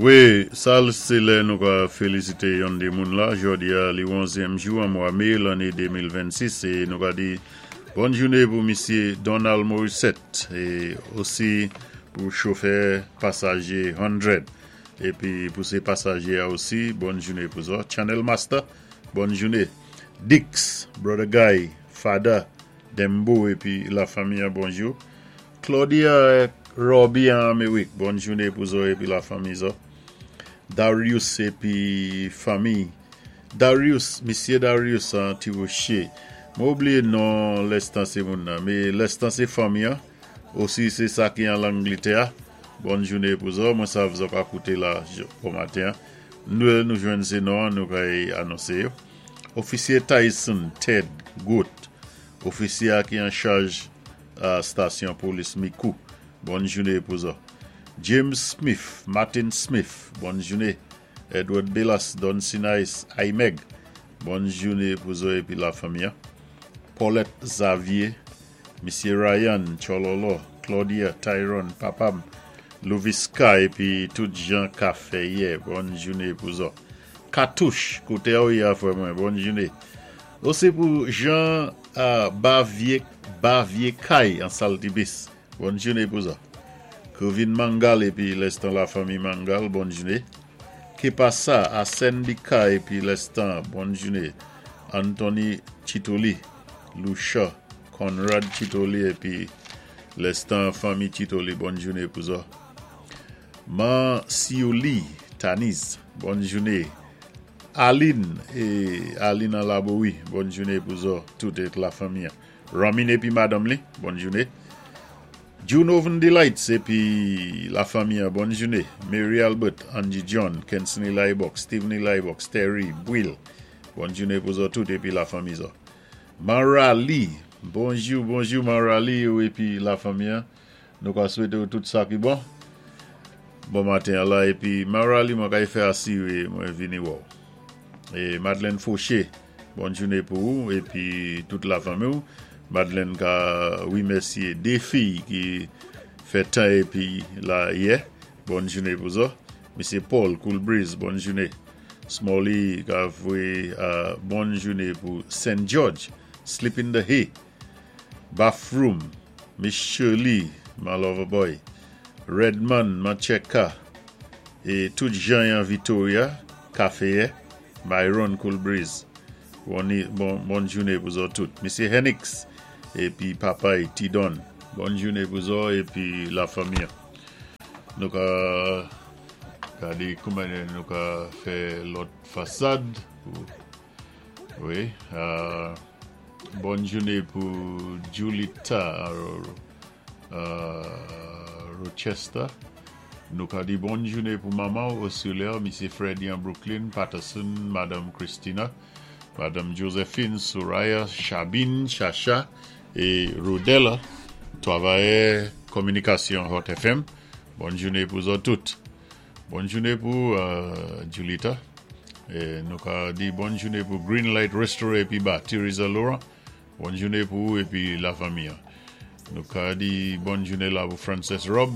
Wi, sa sé lè nou ka félisité yon dé moun la. Jòdi-a, li 11èm jou an mwa mé lanné 2026 é nou ka di bòn jouné pou misyé Donald Morissette é osi pou chofè pasajé 100 épi pou sé pasajé a osi, bòn jouné pou zòt. Channel Master, bòn jouné. Dix, Brother Guy, Fada, Dembo épi la fanmi an, bonjou. Claudia Robbie an Amérik, bòn jouné pou zòt épi la fanmi zòt. Darius épi fanmi. Darius, misyé Darius an Tirocher. Mwen oubliyé non lèstan sé moun nan, mé lèstan sé fanmi an, osi sé sa ki an Langlétè, bòn jouné pou zòt. Mwen sav zòt ka kouté la bon maten an. Nou nou jwenn sé non an, nou kay anonsé yo. Ofisyé Tyson Ted Goat, ofisyé a ki an chaj stasyon polis Micoud. Bòn jouné pou zòt. James Smith, Martin Smith, bòn jouné. Edward Belas, Don Sinais, Aimeg, bòn jouné pou zòt épi la fanmi an. Paulette Xavier, Misyé Ryan, Chololo, Claudia, Tyrone, Papam, Louviska épi tout jan ka fè yè, bòn jouné pou zòt. Katouch, koté ou yé a frè mwen, bòn jouné. Osi pou Jean Bavier Bavier Kay an Saltibis, bòn jouné pou zòt. Kevin Mangal épi lèstan la fanmi Mangal, bòn jouné. Kepasa, Arsène Bika épi lèstan, bòn jouné. Anthony Chitoli, Lucia, Conrad Chitoli épi lèstan fanmi Chitoli, bòn jouné pou zòt. Man Siouli Taniz, bòn jouné. Aline é Aline an Labowi, bòn jouné pou zòt tout é la fanmi an. Ramin épi madanm li, bòn jouné. Junoven Delights épi la fanmi an, bòn jouné. Mary Albert, Angie John, Kensley Laibok, Steven Laibok, Terry, Will, bòn jouné pou zòt tout épi la fanmi zòt. Marali, bonjou, bonjou Marali ou épi la fanmi an. Nou ka swété ou tout sa ki bon. Bon maten an la épi Marali, mwen kay fè asiré mwen vini wè ou. É Madeleine Fauché, bòn jouné pou ou épi tout la fanmi ou. Madeleine ka wimèsyé dé fiy ki fè tan épi la yè. Bòn jouné pou zòt. Misyé Paul Cool Breeze, bòn jouné. Smalley ka voyé bòn jouné pou St. George, Sleep in the Hay, Bathroom, Miss Shirley, my lover boy, Redman, Mancheka, é tout jan an Victoria, Café, Myron Cool Breeze. Bon, bon, bòn jouné pou zòt tout. Misyé Henix, épi Papay Tidon. Bòn jouné pou zòt épi la fanmi. Nou ka gadé kouman nou ka fè lòt fasad. Wi. Bòn jouné pou Julita Rochester. Nou ka di bòn jouné pou manman Ursula, Misyé Freddy an Brooklyn, Patterson, Madanm Christina, Madanm Josephine, Soraya, Chabine, Chacha é Rodella, travayè kominikasyon Hot FM. Bòn jouné pou zòt tout. Bòn jouné pou Julita. É nou ka di bòn jouné pou Green Light Restaurant épi Bar, Teresa Laurent. Bòn jouné pou ou épi la fanmi an. Nou ka di bòn jouné la pou Frances Rob,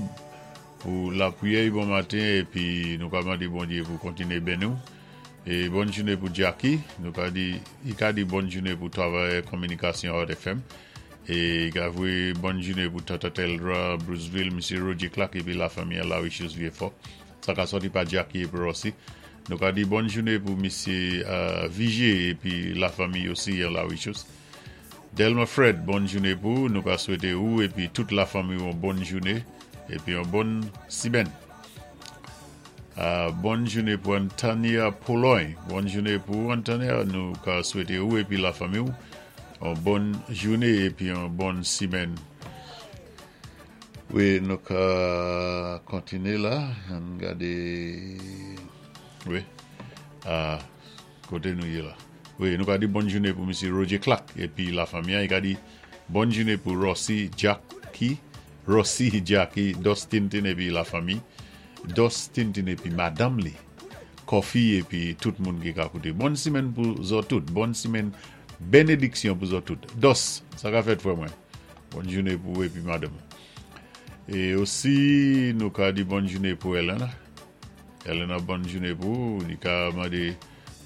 pou lapriyè bon maten épi nou ka mandé Bondyé pou kontiné béni ou. É bòn jouné pou Jackie, nou ka di i ka di bòn jouné pou travayè kominikasyon Hot FM. É i ka voyé bòn jouné pou Tata Teldra, Bruceville, Misyé Roger Clark épi la fanmi an Larichous Vieux-Fort. Sa ka sòti pa Jackie épi Rossi. Nou ka di bòn jouné pou misyé Vigé épi la fanmi osi an Larichous. Delma Fred, bòn jouné pou ou. Nou ka swété ou épi tout la fanmi ou yon bòn jouné épi yon bòn simèn. Bòn jouné pou Antania Pologne. Bòn jouné pou ou, Antania. Nou ka swété ou épi la fanmi ou yon bòn jouné épi yon bòn simèn. Wi, nou ka kontiné la. Ann gadé. Wi. Koté nou yé la? Wi, nou ka di bòn jouné pou Misyé Roger Clark épi la fanmi an. I ka di bòn jouné pou Rossi Jackie, Rossi Jackie, Dos Tintin épi la fanmi. Dos Tintin épi madanm li. Coffee épi tout moun ki ka kouté. Bòn simèn pou zòt tout. Bòn simèn bénédiksyon pou zòt tout. Dos, sa ka fèt frè mwen? Bòn jouné pou ou épi madanm. É osi nou ka di bòn jouné pou Elena. Elena, bòn jouné pou ou. Li ka mandé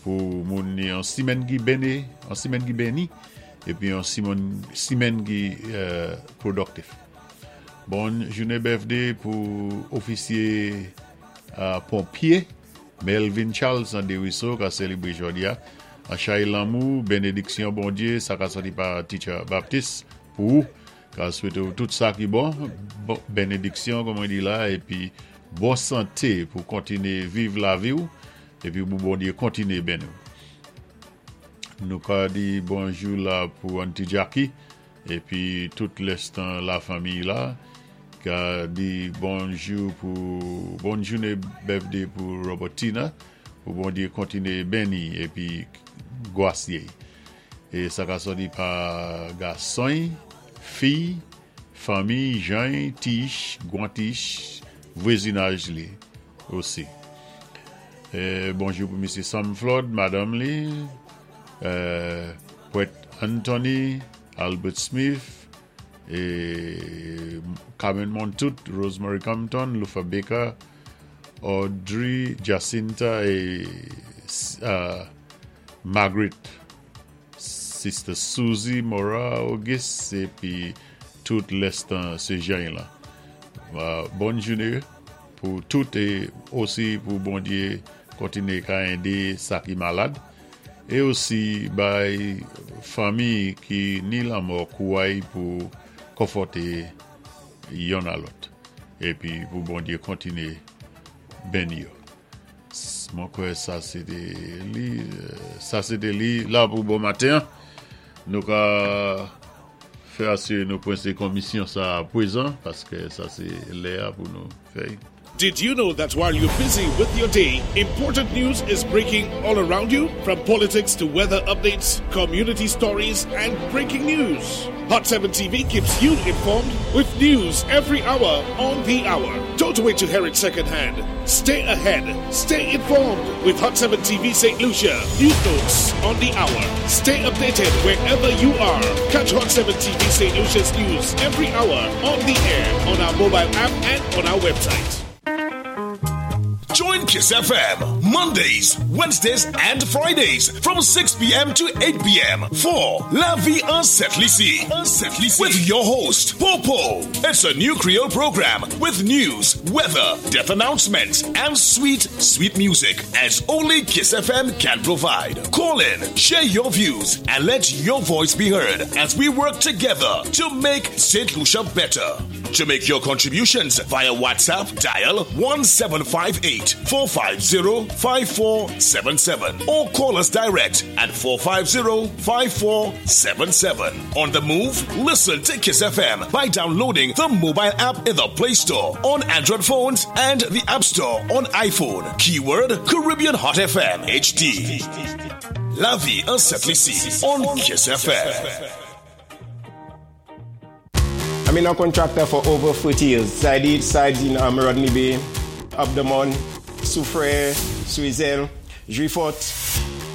pou moun ni yon simèn ki béni, yon simèn ki béni, épi yon simèn ki productif. Bòn jouné birthday pou ofisyé ponpyé Melvin Charles an Desruisseaux ka sélébré jòdi a. An chay lanmou, bénédiksyon Bondyé, sa ka sòti pa Teacher Baptiste pou ou. Ka swété ou tout sa ki bon, bénédiksyon kòm mwen di la, épi bon santé pou kontiné viv lavi ou, épi pou Bondyé kontiné béni ou. Nou ka di bonjou la pou Auntie Jackie, épi tout lèstan la fanmiy la. Ka di bonjou pou bòn jouné birthday pou Robertina, pou Bondyé kontiné béni épi gwasye. É sa ka sòti pa gason'y, fiy, fanmiy, jan'y, tich, gwantich, vwezinaj li osi. Bonjou pou misye Sam Flood, madanm li, Prèt Anthony, Albert Smith, e Carmen Montout, Rosemary Compton, Luther Baker, Audrey, Jacinta e Margaret, Sister Susie, Maura Auguste épi tout lèstan sé jèn lan. Bòn jouné pou tout é osi pou Bondyé kontiné ka édé sa ki malad é osi bay fanmi ki ni lanmò kouray pou konfòté yonn a lòt épi pou Bondyé kontiné béni yo. Mwen kwè sa se te li sa se te li la pou bon maten an. Nou ka fè asire nou pwense komisyon sa a pwezan paske sa se lè a pou nou fè. Did you know that while you're busy with your day, important news is breaking all around you? From politics to weather updates, community stories, and breaking news. Hot 7 TV keeps you informed with news every hour on the hour. Don't wait to hear it secondhand. Stay ahead. Stay informed with Hot 7 TV St. Lucia. News notes on the hour. Stay updated wherever you are. Catch Hot 7 TV St. Lucia's news every hour on the air, on our mobile app, and on our website. Join Kiss FM Mondays, Wednesdays, and Fridays from 6 p.m. to 8 p.m. for La Vie en Sent Lisi with your host, Popo. It's a new Creole program with news, weather, death announcements, and sweet, sweet music as only Kiss FM can provide. Call in, share your views, and let your voice be heard as we work together to make St. Lucia better. To make your contributions via WhatsApp, dial 1758 450 5477 or call us direct at 450 5477. On the move, listen to Kiss FM by downloading the mobile app in the Play Store on Android phones and the App Store on iPhone. Keyword Caribbean Hot FM HD. La vie en Sent Lisi on Kiss FM. I've been a contractor for over 40 years. I did sites in Rodney Bay, Up the Mon, Soufrière, Swizel, Juifot.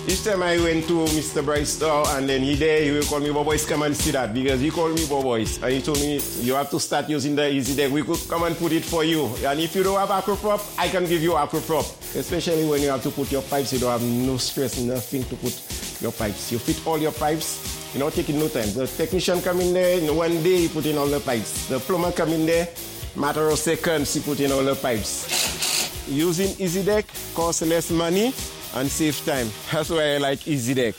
Each time I went to Mr. Bryce store and then he there, he will call me, Boboys, come and see that because he called me Boboys. And he told me, you have to start using the Easy Deck. We could come and put it for you. And if you don't have Acroprop, I can give you Acroprop. Especially when you have to put your pipes, you don't have no stress, nothing to put your pipes. You fit all your pipes, you know, taking no time. The technician come in there, in one day he put in all the pipes. The plumber come in there, matter of seconds he put in all the pipes. Using Easy Deck costs less money and save time. That's why I like Easy Deck.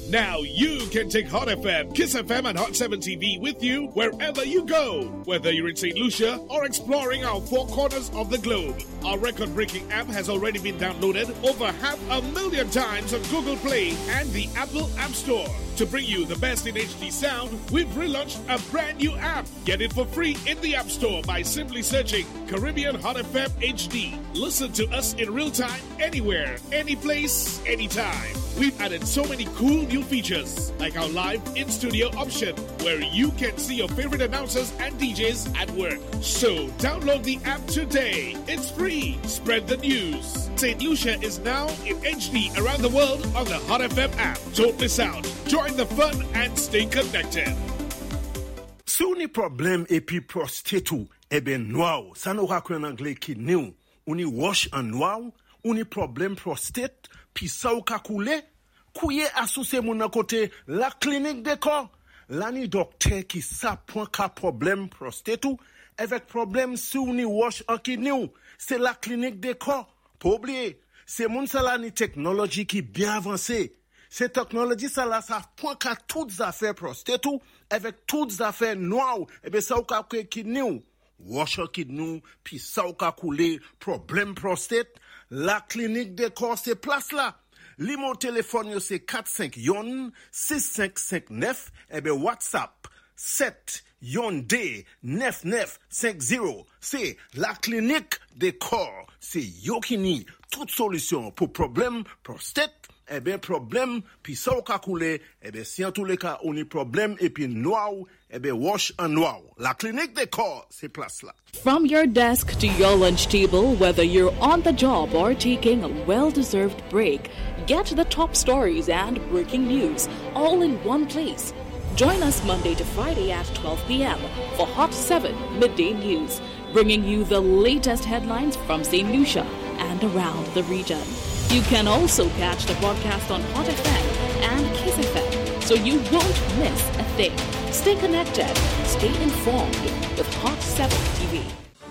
Now you can take Hot FM, Kiss FM, and Hot 7 TV with you wherever you go. Whether you're in St. Lucia or exploring our four corners of the globe. Our record breaking app has already been downloaded over 500,000 times on Google Play and the Apple App Store. To bring you the best in HD sound, we've relaunched a brand new app. Get it for free in the App Store by simply searching Caribbean Hot FM HD. Listen to us in real time, anywhere, any place, anytime. We've added so many cool new features, like our live in studio option, where you can see your favorite announcers and DJs at work. So download the app today. It's free. Spread the news. St. Lucia is now in HD around the world on the Hot FM app. Don't miss out. Join the fun and stay connected. Si ou ni pwoblèm épi pwòstet ou enben nwa-w, sa nou ka kwé an anglé kidney-w, ou ni wòch an nwa-w, ou ni pwoblèm pwòstet, pisa-w ka koulé, kouwé asou sé moun nan koté La Clinique des Corps. La ni dòktè ki sa pwan ka pwoblèm pwòstet ou, èvèk pwoblèm si ou ni wòch an kidney-w, sé La Clinique des Corps. Pa oubliyé, sé moun sa la ni teknoloji ki byen avansé. Sé teknoloji sa la sa pwan ka tout zafè pwòstet ou, èvèk tout zafè nwa-w, enben sa ou ka kwé kidney-w. Wòch an kidney-w, pisa-w ka koulé, pwoblèm pwòstet, La Clinique des Corps sé plas la. Nimewo téléfòn yo sé 451 6559 enben WhatsApp 7 yon 2 99 50. Sé La Clinique des Corps. Sé yo ki ni tout solisyon pou pwoblèm pwòstet, enben pwoblèm pisa-w ka koulé, enben si an tou lé ka ou ni pwoblèm épi nwa-w, enben wòch an nwa-w. La Clinique des Corps, sé plas la. From your desk to your lunch table, whether you're on the job or taking a well deserved break, get the top stories and breaking news all in one place. Join us Monday to Friday at 12 p.m. for Hot 7 Midday News, bringing you the latest headlines from St. Lucia and around the region. You can also catch the broadcast on Hot FM and Kiss FM, so you won't miss a thing. Stay connected, stay informed with Hot 7 TV.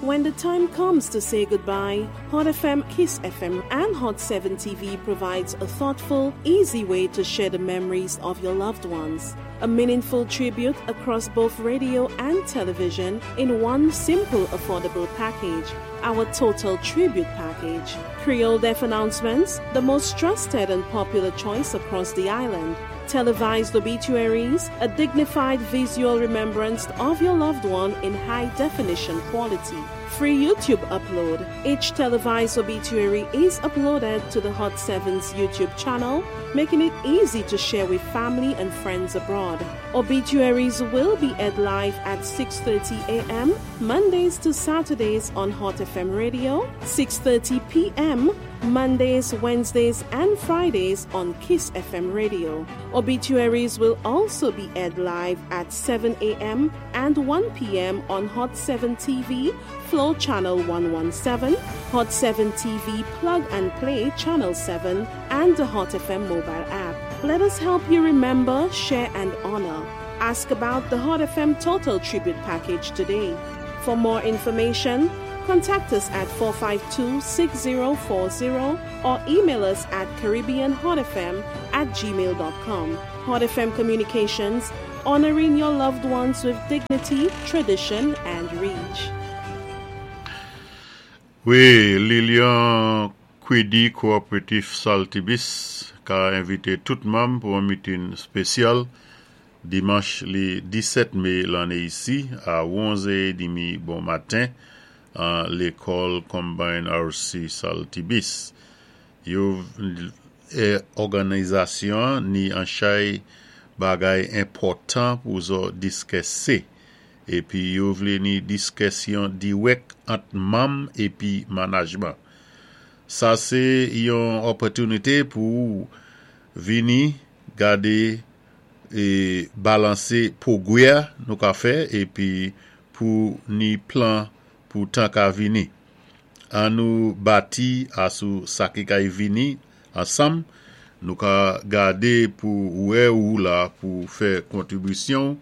When the time comes to say goodbye, Hot FM, Kiss FM, and Hot 7 TV provides a thoughtful, easy way to share the memories of your loved ones. A meaningful tribute across both radio and television in one simple, affordable package. Our Total Tribute Package. Creole Death Announcements, the most trusted and popular choice across the island. Televised obituaries, a dignified visual remembrance of your loved one in high definition quality. Free YouTube upload. Each televised obituary is uploaded to the Hot 7's YouTube channel, making it easy to share with family and friends abroad. Obituaries will be aired live at 6:30 a.m. Mondays to Saturdays on Hot FM Radio, 6:30 p.m. Mondays, Wednesdays, and Fridays on Kiss FM Radio. Obituaries will also be aired live at 7 a.m. and 1 p.m. on Hot 7 TV, Flow Channel 117, Hot 7 TV Plug and Play Channel 7, and the Hot FM mobile app. Let us help you remember, share, and honor. Ask about the Hot FM Total Tribute Package today. For more information, contact us at 452 6040 or email us at CaribbeanHotFM@gmail.com. Hot FM Communications, honoring your loved ones with dignity, tradition, and reach. Wi, Lilian Kwedi Cooperative Saltibus ka envité tout manm pou yon mitin spésyal dimanch li 17 mé lanné isi a 11h30 bon maten an lékòl Combined RC Saltibus. Yo òganizasyon ni an chay bagay enpòtan pou zò diskèsé épi yo vlé ni diskèsyon diwèk ant manm épi manajman. Sa sé yon òpòtinité pou vini gadé é balansé pwogwè nou ka fè épi pou ni plan pou tan ka vini. An nou bati asou sa ki kay vini ansanm, nou ka gadé pou wè ou la pou fè kontribisyon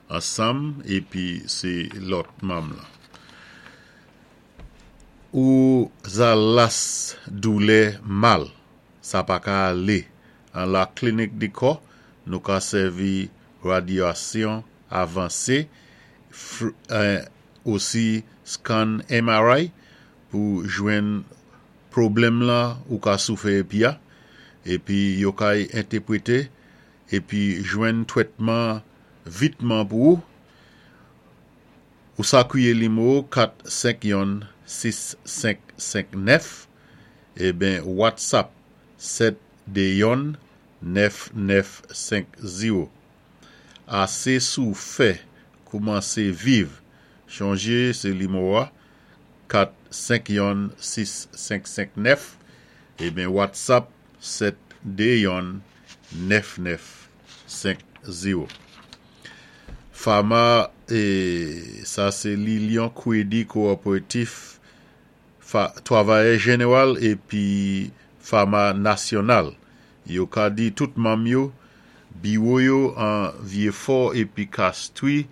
ansanm épi sé lòt manm lan. Ou za las doulè mal, sa pa ka alé. An La Clinique du Corps, nou ka sèvi radyasyon avansé, osi scan MRI pou jwenn pwoblèm la ou ka soufè épi a, épi yo kay entèpwété épi jwenn twètman vitman pou ou. Ou sa kwiye limo 4 5 yon 6 5 5 9 eben WhatsApp 7 2 yon 9 9 5 0. Ase soufè koumanse viv chonje se limo a 4 5 yon 6 5 5 9 eben WhatsApp 7 2 yon 9 9 5 0. Pharma. É sa sé Lilion Kwédi Kowopératif Twavayè Jénéwal épi Fama Nasyonal. Yo ka di tout manm yo, biwo yo an Vyéfò épi Kastwi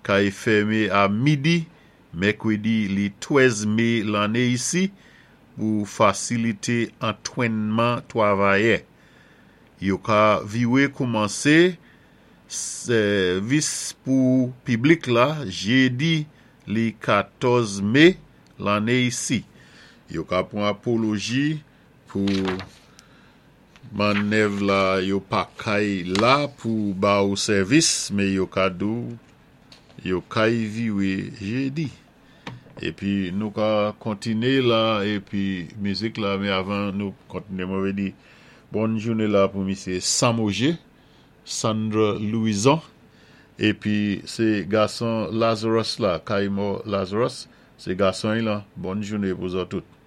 kay fèmé a midi mèkwédi li 13 mé lanné isi pou fasilité antwénman twavayè. Yo ka viwé koumansé Sèvis pou piblik la jedi li 14 me lanne isi. Yo ka pran apoloji pou mannèv la yo pa kay la pou ba ou sèvis me yo ka di w yo kay viwe jedi. Epi nou ka kontine la epi mizik la me avan nou kontine mwen vle di bòn joune la pou misye Samoje. Sandra Louison epi se gason Lazarus la kay mò Lazarus se gason y lan bòn joune pou zò tout.